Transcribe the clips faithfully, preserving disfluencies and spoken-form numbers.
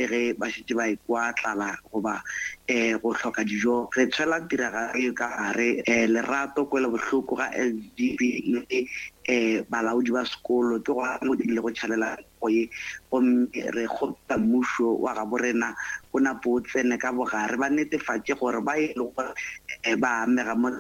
ge ba šetše ba ekwa tlala goba um go hloka dijo. Re tshwela tiragalo e ka gare um lerato, kwelobohloko ga S G B le um balaodi ba sekolo ke gona mo di ilego tšhalela go ye, gomme re kgopela mmušo wa gabo rena o napo o tsene ka bogare, ba netefatše gore ba e le gore ba amega mo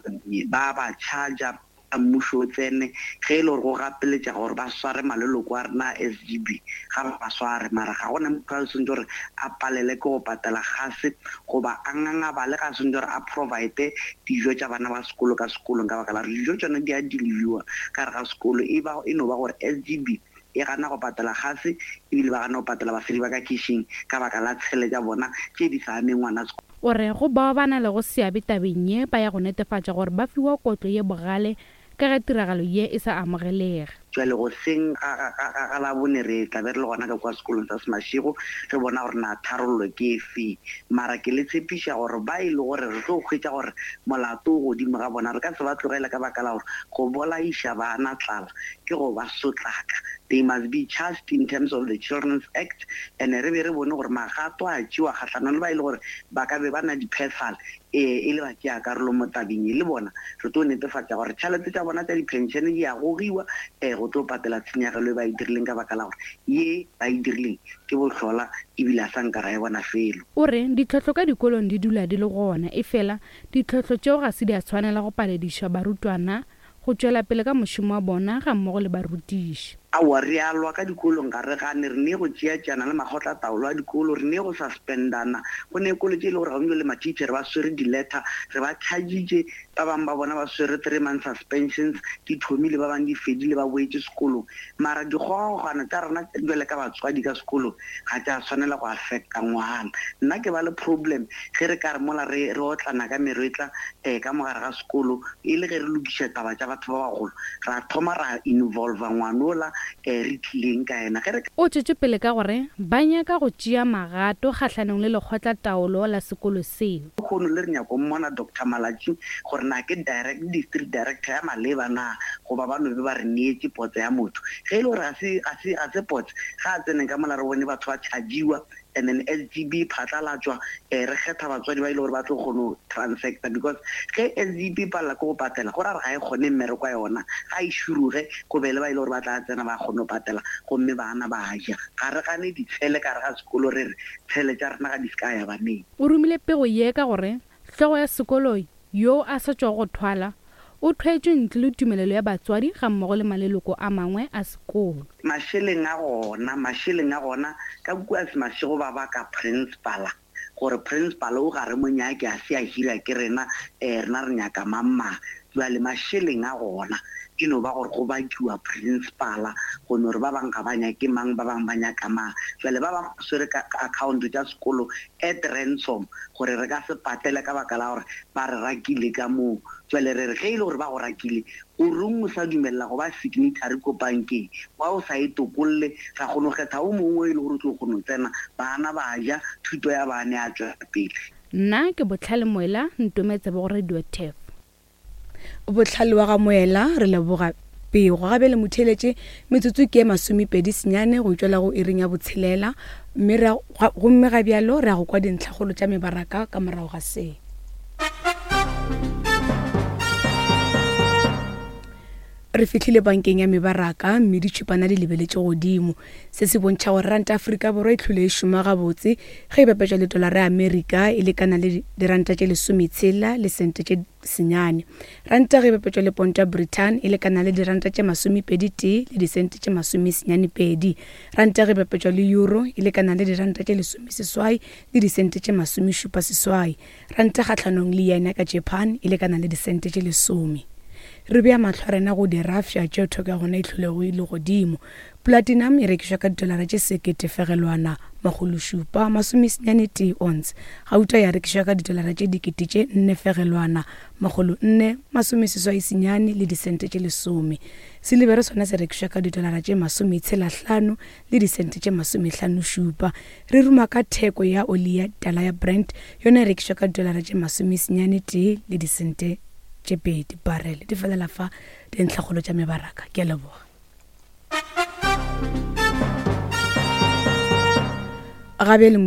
ba ba charger mmušo o tsene ge e le gore go gapeletša gore ba sware maleloko a rena a S G B, ga ba ba sware, mara ga gona motho a swanetše gore a palele ke go patela gase goba a ngangabale, ga a swanetše gore a provide dijo tša bana ba sekolo ka sekolong, ka baka la gore dijo tšona di a deliverwa ka gare ga sekolo. E ba e no ba gore S G B e gana go patela gase, ebile ba gana go patela basadi ba ka kitchen ka baka la tshele tša bona tše di sa ameng ngwana sekolo. O re go bao ba na lego seabe tabeng ye ba ya go netefatša gore ba fiwa kotlo ye bogale ka ge tiragalo ye e sa amogelege. Jwale go seng ga, ga, ga, ga Labone re tla be re le gona ka kwa sekolong sa Semashego, re bona gore na tharollo ke efe. Mara ke le tshepiša gore ba e le gore re tlo hwetša gore molato o godimo ga bona, re ka se ba tlogele ka baka la gore go bolaiša bana tlala ke go ba sotlaka. They must be charged in terms of the Children's Act, and re be re bone gore magato a tšewa kgahlanong le ba e le gore ba ka be ba na di-phefal, e le ba tšea karolo mo tabeng e, le bona re tlo netefatša gore tšhelete tša bona tša di-pension di a gogiwa um go tlo patela tshenyegelo e ba e dirileng, ka baka la gore ye ba e dirileng ke bohlola ebile a sa nka ra e bona felo. O re ditlhohlo ka dikolong di dula di le gona, efela ditlhohlo tšeo ga se di a tshwanela go palediša barutwana go tšwela pele ka mošomo wa bona ga mmogo le barutiši. Aowa, re a lwa ka dikolong, ga re gane, re ne go tšeatšeana le makgotlataolo a dikolo, re ne go suspendana. Go ne kolo tše e le gore gaufi le ma-teacher ba swere di-letter, re ba chargitše, ba bangwe ba bona ba swere three month suspensions, di thomile, ba bangwe di fedile, ba boetše sekolong. Mara dikgogakgogano tša rena bjale ka batswadi ka sekolong ga tša tshwanela go affecta ngwana. Nna ke ba le problem ge re ka re mola re, re otlana ka meretla um ka mogare ga sekolo, e le ge re lokiša taba tša batho ba bagolo, ra thoma ra involva ngwanola um re tlileng ka yena. Ge re O tšwetše pele ka gore ba nyaka go tšea magato kgahlanong le lekgotlataolo la sekolo seo. Kgono le re nyako mmona Doctor Malatji gore na ke direct district director ya maleba na, goba ba no be ba re neetše potse ya motho. Ge e le gore ga se, ga se, ga se potse, ga a tsene ka mola re bone batho ba chargiwa, and then S G B phatlalatšwa, um re kgetha batswadi ba e le gore ba tlo kgona go transacta, because ge S G B palela ke go patela, go ra gore ga e kgone mmereko wa yona, ga e široge go be le ba e le gore ba tla tsena ba kgone go patela, gomme bana ba ja. Ga re gane ditshele ka gare ga sekolo, re re tshele tša rena ga di se ka ya baneng. O romile pego ye ka gore hlogo ya sekolo yo a sa tšwago go thwala o thwetšwe ntle le tumelelo ya batswadi ga mmogo le maleloko a mangwe a sekolo. Mašeleng a gona, mašeleng a gona ka kua Semashego ba baka principala, gore principal o ga re mo nyake, a se a hira ke rena, um rena re nyaka mang mang. Jwale mašeleng a gona e no ba gore go bakiwa principala, go no re ba bangwe ga ba nyake mang, ba bangwe ba nyaka mang. Jwale ba bangwe ba swere ka account tša sekolo at ransom, gore re ka se patele ka baka la gore ba re rakile ka moo. Jwale re re ge e le gore ba go rakile, o reng o sa dumella go ba signatory ko bankeng, wa o sa e tokolle, ra kgona go kgetha o mongwe e le gore o tlo kgona go tsena, bana ba ja, thuto ya bana ya tšwela pele. Nna ke Botlhale Moela, ntometse bo Radio T E F. Botlhale wa ga Moela, re leboga pego. Gabe le motheeletše, metsotso ke e masomepedi senyane go tšwela go iring ya botshelela, mme re a, gomme ga bjalo re ya go kwa dintlhakgolo tša mebaraka ka morago ga se. Re fihlile bankeng ya mebaraka mme ditšhupana di lebeletše godimo. Se se bontšha gore ranta Afrika Borwa e hlole e šoma gabotse ge e bapetšwa le dolara ya Amerika e lekana le diranta tše lesometshela le sente tše senyane. Ranta ge e bapetšwa le ponto ya Britain e lekana le diranta tše masomepedi tee le disente tše masomesenyane pedi. Ranta ge e bapetšwa le euro e lekana le diranta tše lesomeseswai le disente tše masomešupa seswai. Ranta kgahlanong le yen ya ka Japan e lekana le disente tše lesome. Re bea mahlo a rena go dirafša tšeo theko ya gona e hlolego e le godimo. Platinum e rekišwa ka didolara tše sekete fegelwana makgolo šupa masomesenyane tee ounce. Gauta ya rekišwa ka didolara tše dikete tše nne fegelwana makgolo nne masomeseswai senyane le disente tše lesome. Silibere sona se rekišwa ka didolara tše masometshela hlano le disente tše masomehlano šupa. Re ruma ka theko ya oli ya tala ya Brent, yona e rekišwa ka didolara tše masomesenyane tee le disente tše pedi barrel. Di felela fa dintlhakgolo tša mebaraka. Ke a leboga. Gabe le